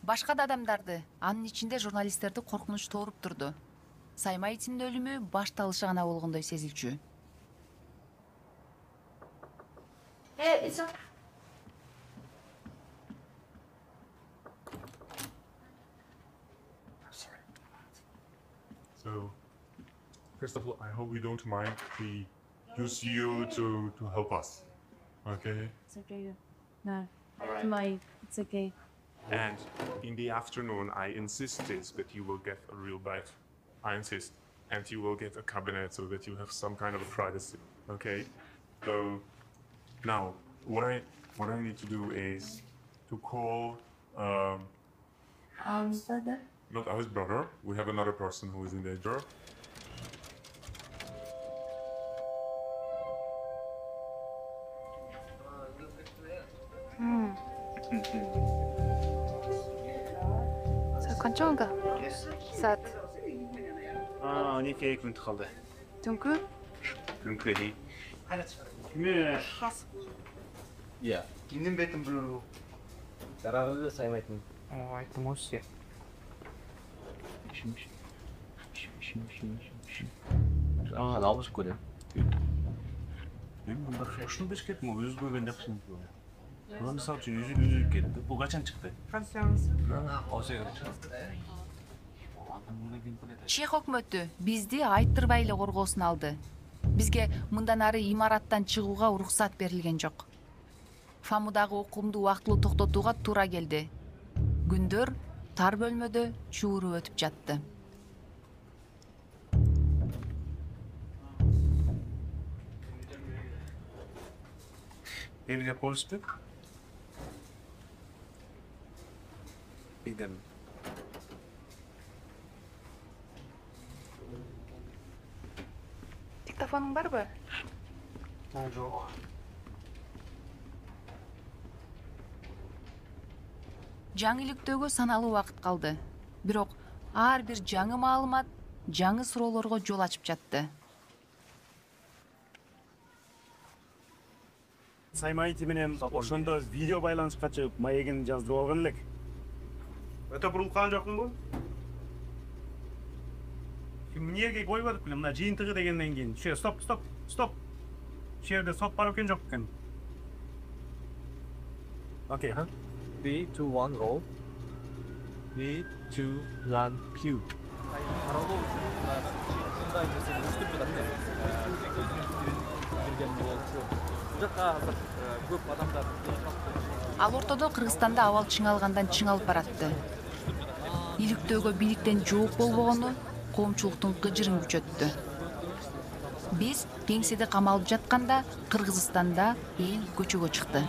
Башка да адамдарды, анын ичинде журналисттерди коркунуч тооруп турду. Саймаевдин өлүмү башталышы гана болгондой сезилчү. So, first of all, I hope you don't mind if we use you to help us. Okay? It's okay. No, it's okay. And in the afternoon, I insisted that you will get a real bed. I insist. And you will get a cabinet so that you have some kind of privacy. Okay? So, now, what I need to do is to call, brother? not our brother. We have another person who is in danger. Канчага? Саат. Он эки күн калды. Түнкү? Түнкү ди. Иә. Кимдин бетин билүү? Жарагы Саймаевдин. Айттым осы. Алышып көрөм. Мен мындай ушуну беш кеттим, өзү көргөн жакшы. Мисалы үчүн өзү кетти. Бул качан чыкты? Чех өкмөтү бизди айттырбай эле коргоосуна алды. Бизге мындан ары имараттан чыгууга уруксат берилген жок. ФАМудагы окуумду убактылуу токтотууга туура келди. Күндөр тар бөлмөдө чууруп өтүп жатты. Evde konuştuk. Gidelim. Диктофонуң барбы? Жок. Жаңылыктөөгө саналуу убакыт калды. Бирок ар бир жаңы маалымат жаңы суроолорго жол ачып жатты. Саймаевди менен ошондо видео байланышка чыгып, маегин жаздырып алган элек. Өтө бурулган жокмунбу? Эмнеге койбодук беле, мына жыйынтыгы дегенден кийин. Стоп. Ушул жерде сот бар экен жок экен. Окей. 3, 2, 1, roll. 3, 2, 1, cue. Каралоо үчүн мындай нерсе өстүп жатат. Берген болчу. Жакка көп адамдар. Ал ортодо Кыргызстанда абал чыңалгандан чыңалып баратты. Иликтөөгө бийликтен жооп болбогону коомчулуктун кыжырын күчөттү. Биз кеңседе камалып жатканда Кыргызстанда эл көчөгө чыкты.